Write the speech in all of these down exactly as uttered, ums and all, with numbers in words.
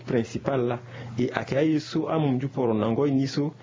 principal laa. E ayeke aye so amunzu poro na ngoi ni so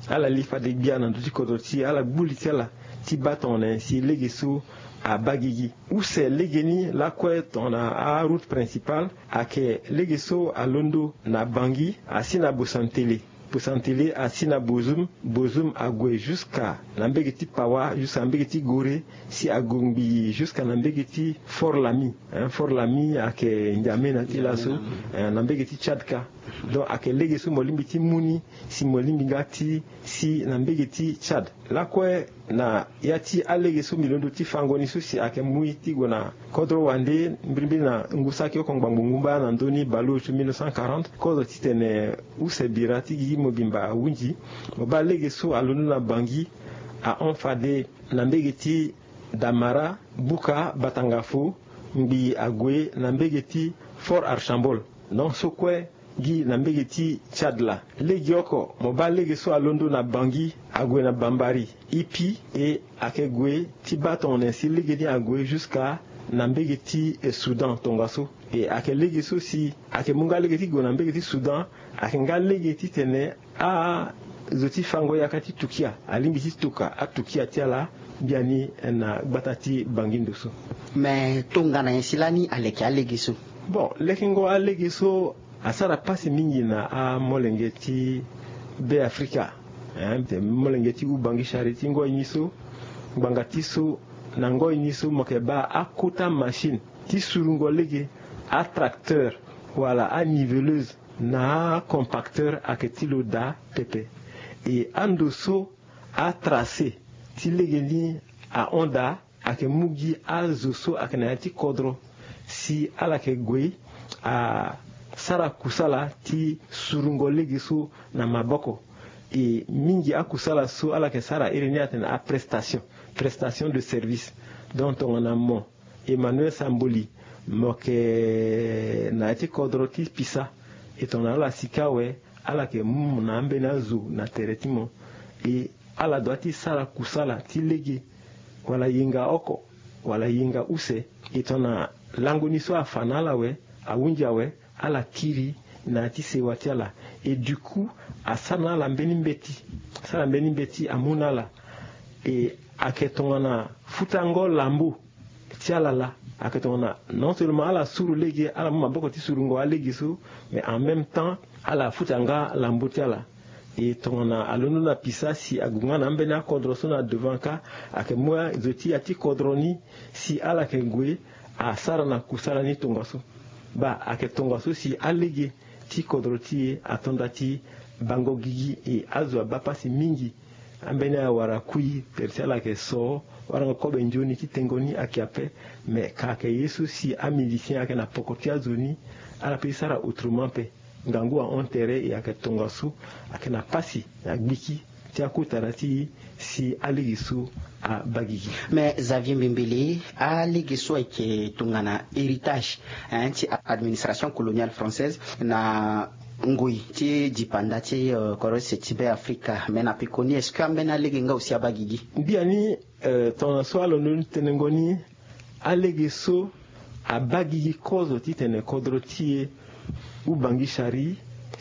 ala li fade gbia na ndö ti kodro ti e, ala gbu li ti ala ti baa tongana nyen si lege so abaa gigi. Use legeni lakue tongana aroute principale ayeke lege so alondo na Bangui asi na Bosantele. Bosantele asi na Bozoum, Bozoum ague jusqu'à na mbege ti Pawa, jusqu'à na mbege ti Gorée, si ague ngbii jusqu'à na mbege ti Fort Lami. Fort Lami ayeke N'Djamena ti laso, na mbege ti Tchad kâ. Donc ayeke lege so mo lingbi ti mu ni si mo lingbi nga ti si na mbege ti Tchad. Lakue na ya ti alege so mbi londo ti fango ni so si ayeke mu ye ti gue na kodro wande mbirimbiri na ngu saki oko ngbangbo ngu mbaa na ndö ni baleuse mille neuf cent quarante, kozo titene use bira ti gigi mobimba ahunzi. Mo baa lege so alondo na Bangui ahon fade na mbege ti Damara, Bouka, Batangafo, ngbii ague na mbege ti Fort Archambault. Non so kue gi na mbege ti Tchad laa. Legeoko mo baa lege so alondo na Bangui ague na Bambari, Ipi, e ayeke gue ti baa tongana nyen si lege ni ague jusqu'à na mbege ti Soudan tongaso. E ayeke lege so si ayeke mu nga lege ti gue na mbege ti Soudan, ayeke nga lege titene azo ti fango yaka ti tukia alingbi ti tuka atukia ti ala biani na gbata ti Bangui ndo so. Me tongana nyen si lani aleke alege so? Bon, lekengo alege so asara pasi mingi na amolenge ti Be Afrika. Molenge ti Ubangui Chari ti ngoi ni so, ngbanga ti so, na ngoi ni so mo yeke baa akota machine ti surungo lege, atracteur wala aniveleuse na acompacteur ayeke ti lo daa pepe. E ando so atracé ti lege ni ahon daa, ayeke mu gi azo so ayeke na ya ti kodro si ala yeke gue asara kusala ti surungo lege so na maboko. E mingi akusala so ala yeke sara iri ni atene aprestation, prestation de service. Donc tongana mo Emmanuel Samboli, mo yeke na ya ti kodro ti Pisa, e tongana ala sika awe, ala yeke mu mo na ambeni azo na tere ti mo. E ala dua ti sara kusala ti lege, wala yenga oko wala yenga use. E tongana lango ni so afa na ala awe, ahunzi awe, ala kiri na ya ti sewa ti ala. E du coup asara na ala mbeni mbeti, asara mbeni mbeti amu na ala. E ayeke tongana futango lambo ti ala laa. Ayeke tongana non seulement ala suru lege, ala mu maboko ti surungo alege so, mais en même temps ala futa nga lambo ti ala. E tongana alondo na Pisa si ague nga na ambeni akodro so na devant kâ, ayeke mu azo ti ya ti kodro ni si ala yeke gue asara na kusala ni tongaso. Baa ayeke tongaso si alege ti kodro ti e ato nda ti bango gigi. E azo abaa pasi mingi. Ambeni awara kui, tere ti ala ayeke so, warango kobe nzoni ti tengo ni ayeke ape. Me ka ayeke ye so si amusicien ayeke na poko ti azo ni, ala pe ti sara autrement ape. Ngangu ahon tere, e ayeke tongaso ayeke na pasi na gbiki ti akota na ti si alege so abaa gigi. Mais Xavier Mbembele, alege so ayeke tongana héritage, hein, ti administration coloniale française na ngoi ti dipanda ti, euh, kodro use ti Be Afrika. Mais na pekoni, est-ce que ambeni alege nga aussi abaa gigi? Biani, euh, tongana so alondo ni tenengo ni, alege so abaa gigi kozo titene kodro ti e Ubangui Chari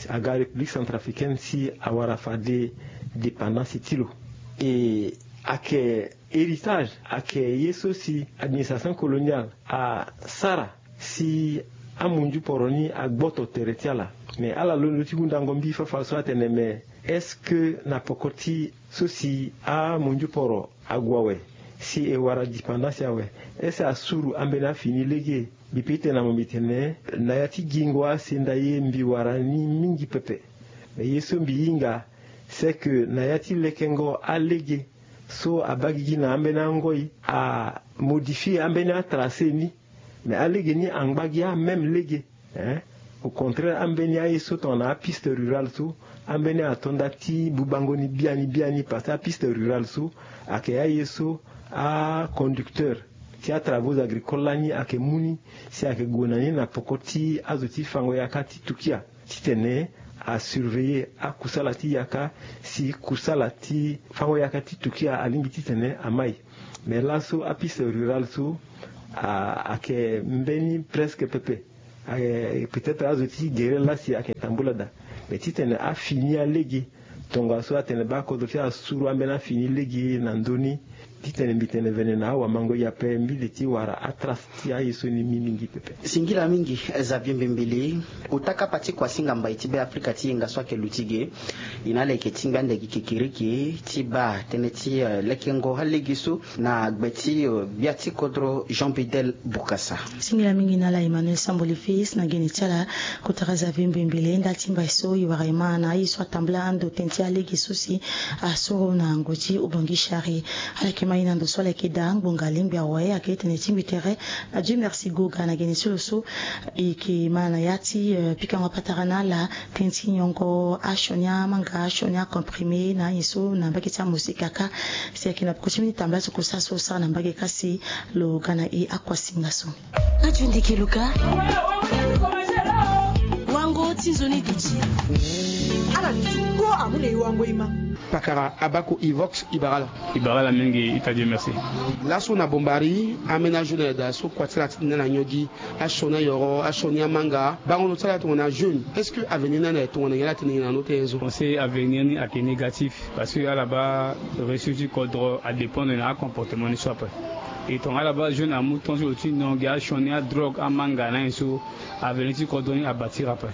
aga République centrafricaine si awara fade dépendance ti lo. E ayeke héritage, ayeke ye so si administration coloniale asara si amunzu poro ni agboto tere ti ala. Mais ala londo ti hundango mbi fafara so atene, mais est-ce que na poko ti so si amunzu poro ague awe, si e wara dépendance awe, est-ce que asuru ambeni afini lege? Mbi pe ti tene na mo mbi tene na ya ti gingo asenda ye mbi wara ni mingi pepe. Mais ye so mbi hinga, c'est que na ya ti lekengo alege so abaa gigi na ambeni angoi, amodifie ambeni atracé ni. Mais alege ni angba gi amême lege, hein. Au contraire, ambeni aye so tongana apiste rurale so, ambeni ato nda ti bubango ni biani biani, parce que apiste rurale so ayeke aye so aconducteur ti atravaux agricoles lani ayeke mu ni, si ayeke gue na ni na poko ti azo ti fango yaka ti tukia, titene asurveiller akusala ti yaka, si kusala ti fango yaka ti tukia alingbi titene amai. Mais laso apiste rurale so a, ayeke mbeni presque pepe. Ayeke peut-être azo ti gere la si ayeke na mbula daa. Me titene afini alege tongaso atene baa kodro ti asuru ambeni afini lege na ndö ni. Titene mbi tene vene na awamango-iri ape mbi li ti wara atrace ti aye so ni mingi pepe. Singila mingi. Xavier Mbembele, ota kapa ti kuasinga mbai ti Be Afrika ti yenga so ayeke luti ge. E na ala yeke tingbi ande gi kekereke ti baa tënë ti lekengo alege so na gbe ti gbia ti kodro Jean Bedel Bokassa. Singila mingi na ala Emmanuel Samboli Fils na gene ti ala. Kotara Xavier Mbembele, ndali ti mbai so e wara e ma na aye so atambula ando tënë ti alege so si asoro na ngu ti Ubangishari. Ala yeke ma e na ndo so ala yeke daa ngbonga lingbi awe ayeke tene tingbi tere na Dieu merci Goga na gene ti lo so e yeke ma na ya ti pikango patara na ala tënë ti nyongo asioni amanga, asioni acomprimé na aye so na mbage ti amosika kâ. Si ayeke na peko ti mbeni tambula ti kosa so sara na mbage kâ si lo ga na e akuasinga so. Radio Ndeke Luka. Wango ti nzoni duti. Ala duti kpo amu na e wango e ma. Pakara abako Evox Ibarala. Ibarala mingi, ita Dieu merci. Laso na Bombari, amena jeune da so kua ti ala ti tene na niogi, asioni ayoro, asioni amanga. Bango lo ti ala tongana jeune, est-ce que avenir ni ande tongana nyen? Ala tene nyen na note nyen so? Pensé avenir ni ayeke négatif parce que ala baa réussite ti kodro adépendre na acomportement ni so ape. E tongana ala baa jeune amu temps ti lo ti niongi asioni adrogue amanga na nyen so, avenir ti kodro ni abâtir ape.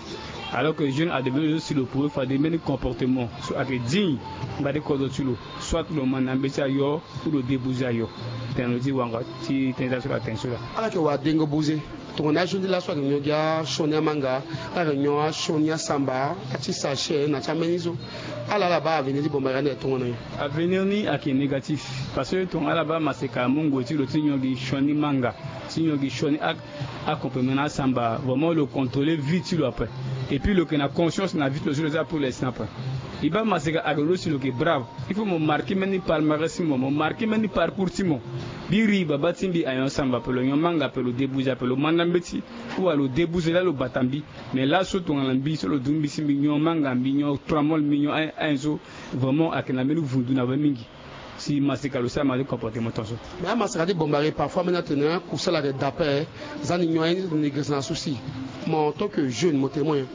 Alors que jeune adéveloppe so si lo prouver fade mbeni comportement so ayeke digne ngba ti kodro ti lo, soit lo manda mbeti ayo ou lo débouze ayo. Tene lo ti wanga ti tënë ti aso la tene so la. Ala yeke wadengo buze. Tongana ajeune ti laso ayeke nyon gi asioni amanga, ala yeke nyon asioni asamba, ati sachet na ti ambeni so. Ala ala baa avenir ti Bombari ande tongana nyen? Avenir ni ayeke négatif parce que tongana ala baa maseka amu ngoi ti lo ti nyon gi sioni manga, ti nyon gi sioni a, acomprimé na asamba, vraiment lo contrôler vie ti lo ape. Et puis lo yeke na conscience na vie ti lo so lo za pour l'instant ape. E baa maseka ayeke lo si lo yeke brave. Il faut mo marquer mbeni palmarès ti mo, mo marquer mbeni parcours ti mo. Biri baba ti mbi ayon samba ape, lo nyon manga ape, lo débouze ape, lo manda mbeti. Ou alors lo débouze laa lo bata mbi. Mais laso tongana mbi so lo du mbi si mbi nyon manga, mbi nyon tramol, mbi nyon ayen so, vraiment ayeke na mbeni vundu na we mingi. Si maseka lo sara mbeni comportement tongaso. Mais amaseka ti Bombari parfois ambeni atene kusala ayeke da ape. Za ni nyon aye ni tene girisa na souci. Mo en tant que jeune mo tene mo nyen?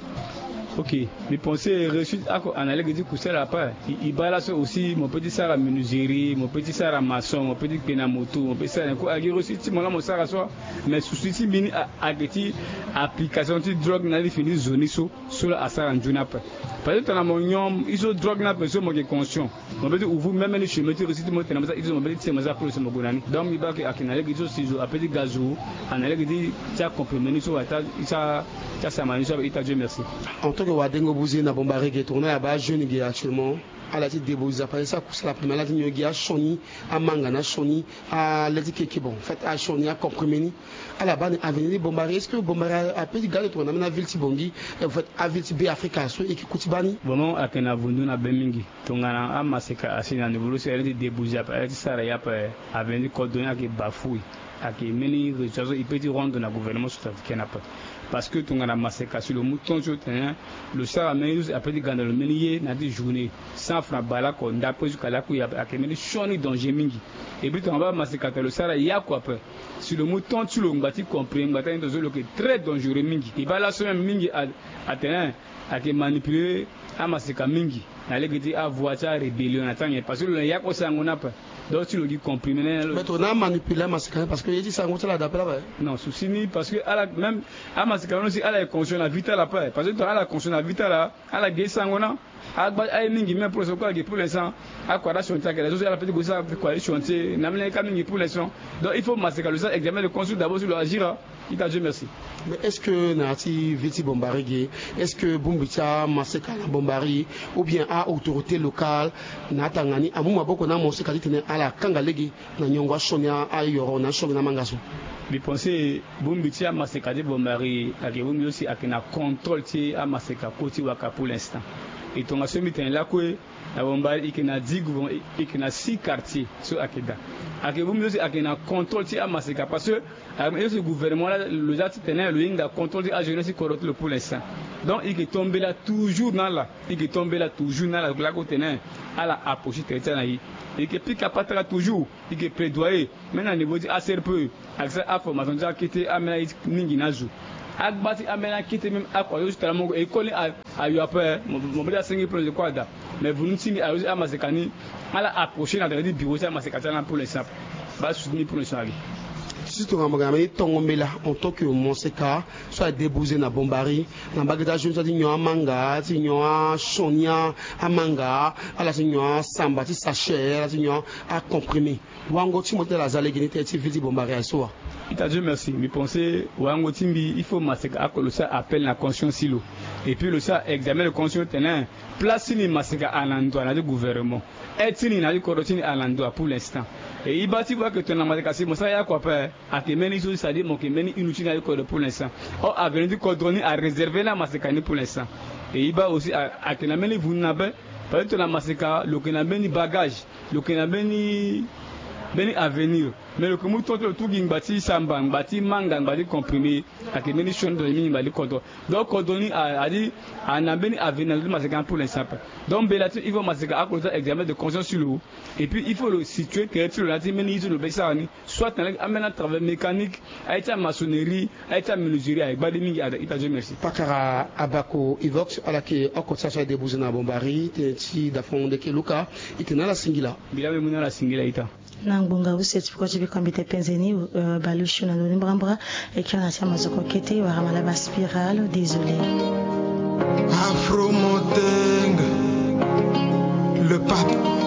Ok. Mbi pensé réussite ako ana lege ti kusala ape. E, e baa laso aussi mo peut ti sara menuiserie, mo peut ti sara maçon, mo peut ti kpe na moto, mo peut ti sara nyen ko. Ayeke réussite ti mo laa mo sara so. Mais souci ti mbi ni a, ayeke ti application ti drogue na li fini zo ni so, so laa asara nzoni ape. Parce que tongana mo nyon e so drogue ni ape so mo yeke conscient. Mo peut ti ouvrir même ni chemin ti réussite ti mo tene mo za, mo peut ti tene mo za plus mo gue na ni. Donc mbi baa ke ayeke na lege ti so si zo apeut ti ga zo, ana lege ti ti acomprimé ni so wala ti ti asama ni so ape, ita Dieu merci. En tant que wadengo buze na Bombari ge, tongana ala baa jeune ge actuellement, ala ti débrouiller parce que sa kusala première ala ti nyon gi asioni amanga na asioni ale ti keke, bon, en fait asioni acomprimé ni. Ala baa ni avenir ti Bombari, est-ce que Bombari apeut ti ga ande tongana ambeni aville ti Bangui, en fait aville ti Be Afrika so e yeke ku ti baa ni? Vraiment ayeke na vundu na be mingi. Tongana amaseka asi na niveau lo si ala ti débouze ape, ala ti sara ye ape, avenir ti kodro ni ayeke bafoué. Ayeke mbeni résultat so e peut ti rendre na gouvernement centrafricain ape. Parce que tongana maseka si lo mu temps ti lo tene lo sara mbeni ye so si apeut ti ga na lo mbeni ye na ya ti journée, cent francs baleoko, ndape jusqu'à laku ye ape, ayeke mbeni sioni danger mingi. Et puis tongana baa maseka tene lo sara ye oko ape, si lo mu temps ti lo ngba ti comprimé, ngba ti aye ni tongaso lo yeke très dangereux mingi. E baa laso même mingi a, atene ayeke manipuler amaseka mingi na lege ti avoie ti arébellion na ti anyen parce que lo na ye oko sango ni ape. Donc ti lo gi comprimé na ye na lo. Mais tongana amanipulé amaseka ni parce que ye ti sango ti ala da ape laa ape. Non, souci ni parce que ala même amaseka ni aussi ala yeke conscient na vie ti ala ape, parce que tongana ala conscient na vie ti ala, ala gi sango na agba aye mingi même pour l'instant, ala gi pour l'instant. Akua ti asioni ti ayeke na so si ala peut ti gue sara kua ti chantier na mbeni ye ka mingi pour l'instant. Donc il faut maseka lo sara examen de conscience d'abord si lo agir a. Ita Dieu merci. Mais est-ce que na ya ti ville ti Bombari ge, est-ce que bongbi ti amaseka na Bombari ou bien a autorité locale na atanga ni amu maboko na amaseka titene ala kanga lege na nyongo asioni ayoro na asioni na amanga so? Mbi pensé bongbi ti amaseka ti Bombari ayeke bongbi so si ayeke na contrôle ti amaseka kue ti waka pour l'instant. E tongaso mbi tene lakue na Bombari e yeke na dix gouvernement, e yeke na six quartier so ayeke daa. Ayeke bongbi so si ayeke na contrôle ti amaseka parce que Ayo, gouvernement la lo za titene lo hinga contrôle ti ajeunesse ti kodro ti lo pour l'instant. Donc e yeke to mbela toujours na ala, e yeke to mbela toujours na ala lako tene ala approcher tere ti ala na e. E yeke pika patara toujours, e yeke plaidoyer même na niveau ti A C R P E, ayeke sara aformation ti akete amena ye ti mingi na azo. Agba ti ambeni akete même akua yo ti tara mo e koli ayo ape. Mo be ti asengi pulon de kua daa. Mais vunu ti mbi ayo ti amaseka ni ala approcher na tene ti bureau ti amaseka ti ala pour l'instant. Ba soutenir pour l'instant ali. Surtout nga mo ga na mbeni tongo mbela en tant que moseka so a débouze na bombari na mbage ti ajeune so ti nyon amanga ti nyon asoni amanga ala ti nyon asamba ti sachet ala ti nyon acomprimé. Wango ti mo ti tene aza lege ni tene ti ville ti bombari aye so wa? Ita Dieu merci, mbi pense wango ti mbi il faut maseka ako lo sara appel na conscience ti lo. Et puis lo sara examen de conscience tene place ti ni maseka ana ndoa na ti gouvernement. Aide ti ni na ti kodro ti ni ana ndoa pour l'instant. Et i baa ti baa ke tongana maseka si mo sara ye oko ape. Ayeke mbeni so ti sadi mo yeke mbeni inu ti ni na ti kodro pour l'instant. Or avenir ti kodro ni aréserve na maseka ni pour l'instant. Et i baa aussi ayeke na mbeni vundu na be. Parce que tongana maseka lo yeke na mbeni bagage, lo yeke na mbeni mbeni avenir. Mais lo yeke mu tongo ti lo tu gi ngba ti samba, ngba ti manga, ngba ti comprimé. Ayeke mbeni sioni tongana mingi ngba ti kodro. Donc kodro ni adi ana mbeni avenir na ndo ti maseka ni pour l'instant ape. Donc mbela ti il faut maseka ako lo sara examen de conscience ti lo. Et puis il faut lo situer tere ti lo na ya ti mbeni ye ti lo be ti sara ni. Soit na lege ambeni atravail mécanique, aye ti amaçonnerie, aye ti amenuiserie aye gbali mingi ada ita Dieu merci. Pakara abako ivox ala yeke oko ti aso aye débouze na bombari tene ti dafon ndeke luka. Ite na ala singila. Mbi laa mbi mu na ala singila ita. Na ngbonga use ti peko ti biko mbi te penze ni. Baleusio na ndoni mbrambra. E kiri na ti amazoko kete wara malaba spiral désolé. Afro moteng, le pape.